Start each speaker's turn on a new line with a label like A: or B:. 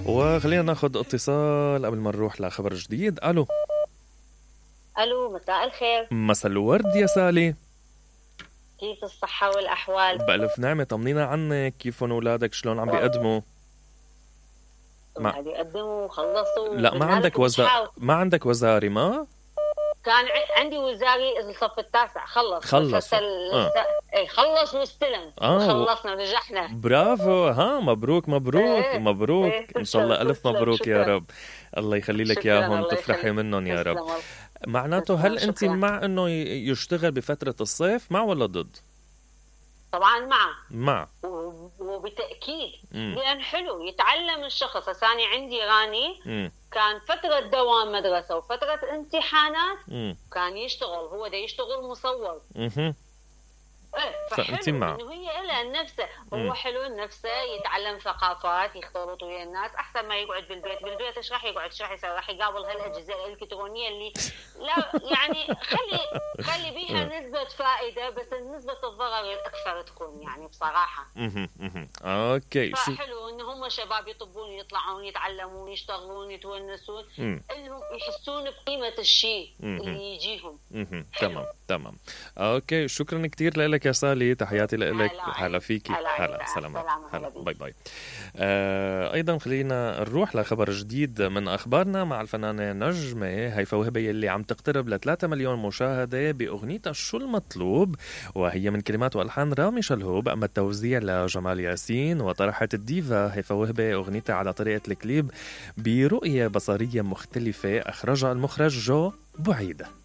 A: وخلينا ناخذ اتصال قبل ما نروح لخبر جديد. الو
B: مساء الخير.
A: مساء الورد يا سالي،
B: كيف الصحة والأحوال؟
A: بألف نعمة، طمنينا عنك، كيفهم أولادك، شلون عم بيقدموا؟
B: قاعد يقدموا خلصوا.
A: لا ما عندك وزاري؟ ما
B: كان عندي وزاري الصف التاسع خلص خلص واستلم خلصنا نجحنا.
A: برافو، مبروك ان شاء الله ألف مبروك. شكرا. يا رب الله يخلي لك اياهم، تفرحي منهم يا رب. معناته هل انت مع انه يشتغل بفترة الصيف، مع ولا ضد؟
B: طبعا
A: مع
B: وبتأكيد لأن حلو يتعلم الشخص. أنا عندي راني كان فترة دوام مدرسة وفترة امتحانات كان يشتغل، هو ده يشتغل مصور. فحلو انه هي إلها نفسه، هو حلو نفسه يتعلم ثقافات، يختلط ويا الناس احسن ما يقعد بالبيت ايش راح يقعد، ايش راح يسوي، راح يقابل هالاجهزه الالكترونيه اللي لا يعني خلي بيها نسبه فائده، بس نسبه الضرر الاكثر تكون يعني بصراحه.
A: اوكي،
B: فحلو ان هم شباب يطبون يطلعون يتعلمون يشتغلون يتونسون، انهم يحسون بقيمه الشيء اللي يجيهم.
A: تمام اوكي، شكرا كثير لك يا سالي، تحياتي لك. هلا فيكي، هلا سلامات، هلا باي باي. ايضا خلينا نروح لخبر جديد من اخبارنا مع الفنانه نجمه هيفاء وهبي اللي عم تقترب ل 3 مليون مشاهده باغنيتها شو المطلوب، وهي من كلمات والحان رامي شلهوب، اما التوزيع لجمال ياسين. وطرحت الديفا هيفاء وهبي اغنيتها على طريقه الكليب برؤيه بصريه مختلفه اخرجها المخرج جو بعيده.